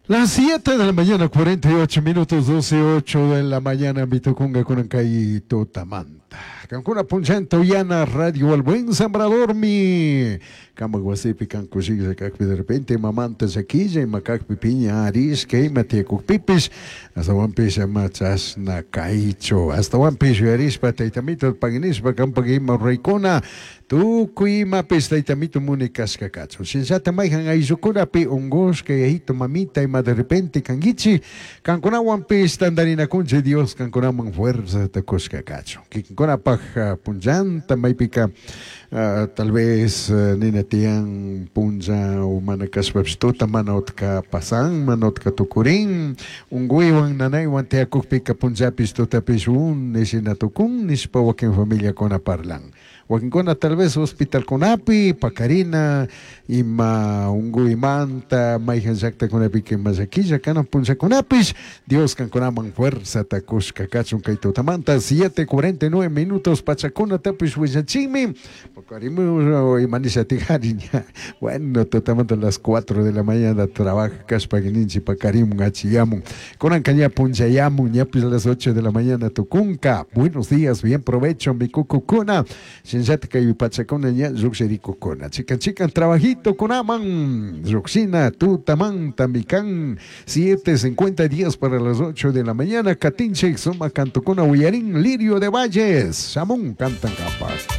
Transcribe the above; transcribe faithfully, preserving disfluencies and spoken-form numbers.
Las siete de la mañana, cuarenta y ocho minutos, doce, ocho de la mañana, mitukunga kunan tutamanta. Kankuna punchanta uyana Radio El Buen Sembrador mi. Kama wasipi kan kushilla kakpi, de repente mamanta llaquilla ima kakpi, piña arishka ima tiyakukpipish, astawanpish ama chashna kaychu, astawanpish yuyarishpa taytamito paginishpa kampak ima ruraykuna tukuy imapish taytamito muni kashka kachun. Shinallata mayjan ayllukunapi ungushka yayito, mamita ima de repente kankichik, kankunawanpish tantarinakunchik, Dios kankunaman fuerzata kushka kachun. Kikinkunapaj punllanta maypika tal vez nina tiyan punlla o mana kashpapish tuta mana utka pasan, mana utka tukurin, unkuywan nanaywan tiyakukpika punllapish tutapish uni shina tukun nishpa wakin familiakuna parlan. Wakinkuna tal vez hospitalkunapi pakarina ima unkuymanta, mayjan llaktakunapika ima llaquilla kanan punllakunapish, Dios kankunaman fuerzata kushka kachun. Kay tutamanta siete cuarenta y nueve minutos pachakunatapish willachinmi pakarimu ima nisha tijari ña. Bueno, tutamanta las cuatro de la mañana trabaja kashpa ninchi pakarimun achiyamun, kunanka ña punllayamun, ñapish las ocho de la mañana tukunka. Buenos días, bien provecho mi kukukuna. Shinallata kay pachakuna ña llukshirikukuna chikan chikan trabajito kunaman llukshina tutamanta mikan. siete cincuenta, diez para las ocho de la mañana. Katinchik suma kantukuna uyarin, Lirio de Valles shamun cantan kapak.